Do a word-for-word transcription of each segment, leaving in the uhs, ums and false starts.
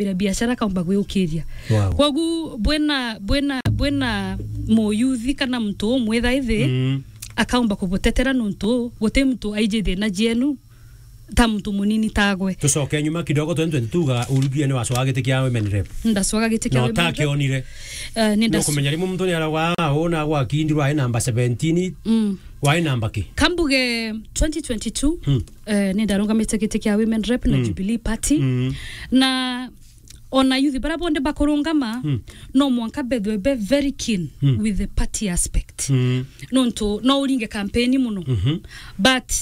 kwambira biashara, akaumba gwiukiria. Wow. Kogu bwina, bwina, bwina muyuthi kana muntu umwitha ithi, Mm. akaumba kubutetera nuntu guti muntu aiji thina jienu ta muntu munini tagwe. Tucoke nyuma kidogo, twenty twenty-two ga urugia ni wacoa giti kia women rep. Ndacoa giti kia Na women rep. Utakionire. Eh, ni ndac- Nukumenya rimwe muntu ni aragwa, "Ah, una gwa kindi rwai namba seventeen." Mm. Wai namba ki? Kambuge twenty twenty-two, Mm. eh, ni ndarungamite giti kia women rep na Mm. Jubilee Party. Mm. Na ona youth bara bonde bakurungama, Mm. no mwanka bethwe be very keen Mm. with the party aspect. Mm. Nontu no uringe campaign muno. Mhm. But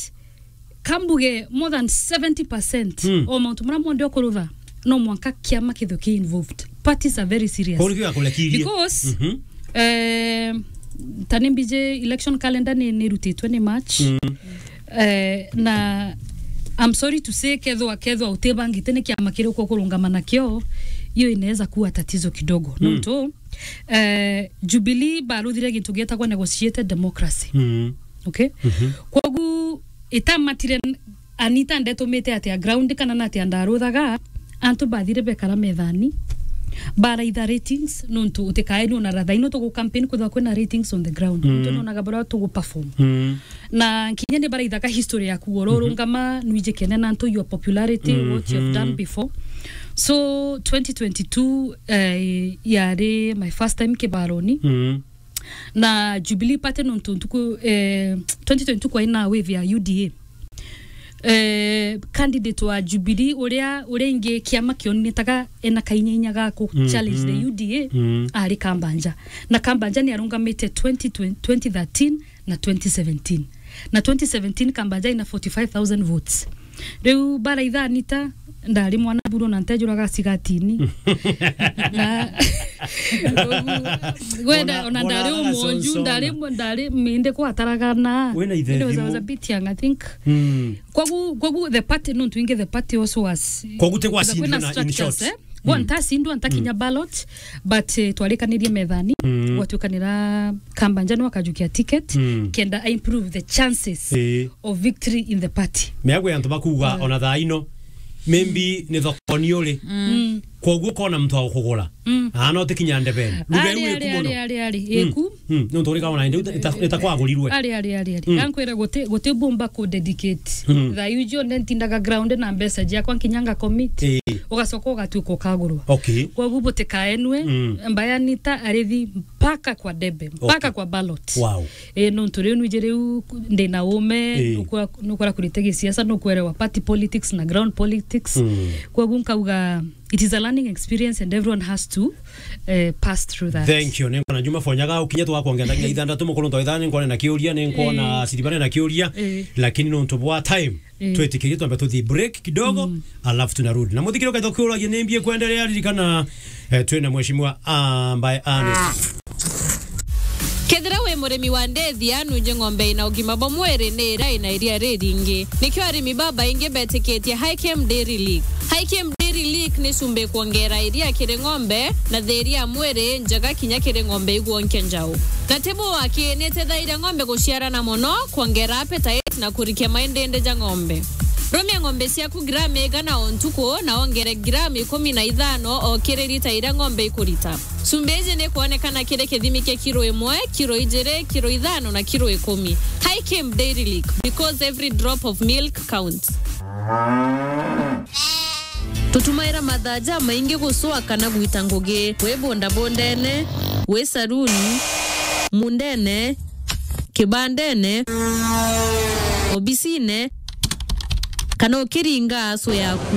kambuge more than seventy percent Mm. o mauntu mara monthe ukurutha, no mwanka kiama kithwe ki involved. Parties are very serious. Kuri kiga kurekirie. Because, Mhm. eh, tani mbije election calendar ni, ni rutitwe ni March. Mm. Eh, na I'm sorry to say, kethwa, kethwa utibangite ni kiama kiriku ukurungama nakio, hiyo inaweza kuwa tatizo kidogo. Mm. Nontu, eh, Jubilee baruthire gintu gietagwa negotiated democracy. Mm. Okay? Mhm. Kogu itamatire n-, Anita ndetumite atia ground kana na atia ndaruthaga, antu bathire bekara methani, baraitha ratings, nontu utikae ni ona ratha ino tugu campaign kwithwa kwina ratings on the ground. Mm. Nontu nonaga baria tugu perform. Mm. Na kinya ni baraithaga history yaku, oro Mhm. urungama, nwiji kene na antu your popularity, what you have done Mhm. before. So, twenty twenty-two, eh, yari my first time kibaroni. Mm. Na Jubilee Party nontu ntuku, eh, twenty twenty-two kwai na wave ya U D A. Eh, candidate wa Jubilee uria, uria ingi kiama kionetaga ena kainyainya ga ku Mhm. challenge the U D A, Mm. ari Kambanja. Na Kambanja ni arungamite twenty twenty, twenty thirteen na twenty seventeen. Na twenty seventeen Kambanja ina forty-five thousand votes. Riu baraitha Anita, ndari mwana buru na ntejuraga cigatini. Na, gwenda, ona ndari umonju, ndari, ndari minde kwataraga na. Wina ithe thimu. It was, I was a bit young, I think. Mm. Kogu, kogu the party, no twinge the party also was. Kogu te gwacindirwe na, in short. Kwina structures, eh? Gwa ntacindwa, ntakinya ballot, but, eh, twarikanirie methani, Mm. gwatuikanira Kambanja nwa akajukia ticket, Mm. kenda I improve the chances Eh. of victory in the party. Meagwe antu bakuga ona thaa ino, maybe ni thokoni uri. Mm. Koguo kona muntu wa kugura. Mm. Ana utikinya ndebeni. Ari, ari, ari, ari, ari. Mm. Eku. Mm. Nontu uri kaona indi ita-, ita-, itakwagurirwe. Ari, ari, ari, ari. Mm. Gankwira guti, guti bumba ku dedicate. Mm. Thaa iu cionthe ntindaga ground na mbeca ciakwa nkinya nga commit. Eh. Ugacoka ugatuika ukagurwa. Okay. Koguo butikaenwe, Mm. Mbayani ta arithi mpaka kwa debe, mpaka Okay. kwa ballot. Wow. Eh, nontu riu nwiji riu ku-, ndina ume, Eh. nukwa-, nukwera kurite gisiasa, nukwerewa party politics na ground politics. Mm. Koguo nkauga, it is a learning experience and everyone has to, eh, pass through that. Thank you. Ninkona Juma Fonyaga, ukinya twakwongea ndagika ithandatu, mukuru ntwa ithano, ninkona na kiuria, ninkona Eh. Siribane na kiuria, Eh. lakini nontu bwa time, Eh. twitikirie twambe tuthii break kidogo, Mm. alafu tunarudi. Na muthikiri ukaitha ukiuragia ni mbie kwendelea, ririkana, eh, twina mheshimiwa ambaye ani. Kethira wi murimi wa ndethia, nunje ng'ombe ina ugima bwa mwiri ni iria ina iria riringi. Nikio arimi babaingi betikitie Hikem Dairy Lick. Hikem Dairy Lick ni cumbi kwongera iria kiri ng'ombe na thiiri ya mwiri njega kinya kiri ng'ombe igwonkia njau. Na tibu waki ni itethairia ng'ombe guciarana mono, kwongera appetite na kurikia maindindi ja ng'ombe. Rumia ng'ombe ciaku gramu igana o ntuku na wongere gramu ikumi na ithano o kiri lita iria ng'ombe ikurita. Cumbi iji ni kwonekana kiri kithimi kia kiro imwe, kiro ijiri, kiro ithano na kiro ikumi. Hikem Dairy Lick, because every drop of milk counts. Tutumaira mathaa jamaingi gucua kana gwita ngugi, wi bundabundene, wi saruni, mundene, kibandene, obisine, kana ukiringa asu yaku.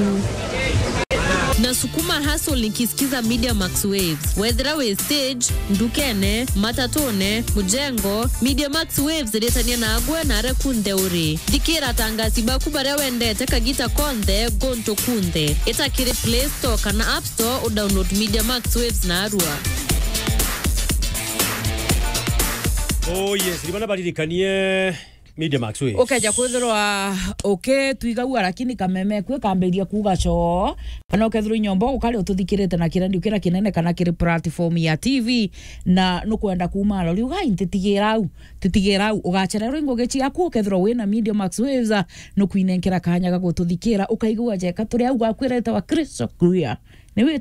Na sukuma hustle nikisikiza Media Max Waves. Wethira wi stage, ndukene, matatune, mujengo, Media Max Waves iritania nagwe na aria kunthe uri. Thikira atangasi baku baria wendete kagita konthe, guntu kunthe. Ita kiri Play Store kana App Store, udownload Media Max Waves narua. Oh yes, rimana baririkanie Media Max Waves. Ukeja kwithirwa ukitwigagua, lakini kameme kwi kambiria kuuga coo, kana ukethirwa inyomba ukari ututhikirite na kirendio kira kinene kana kiri platform ya T V, na nukwenda kuuma aro, riuga, "Ai, ntitigira au, ntitigira au." Ugacererwa ingugi ciaku, ukethirwa wina Media Max Waves, nukwinenkera kanya ga gututhikira, ukaigua jeka turi au gwakwira itawa crystal clear.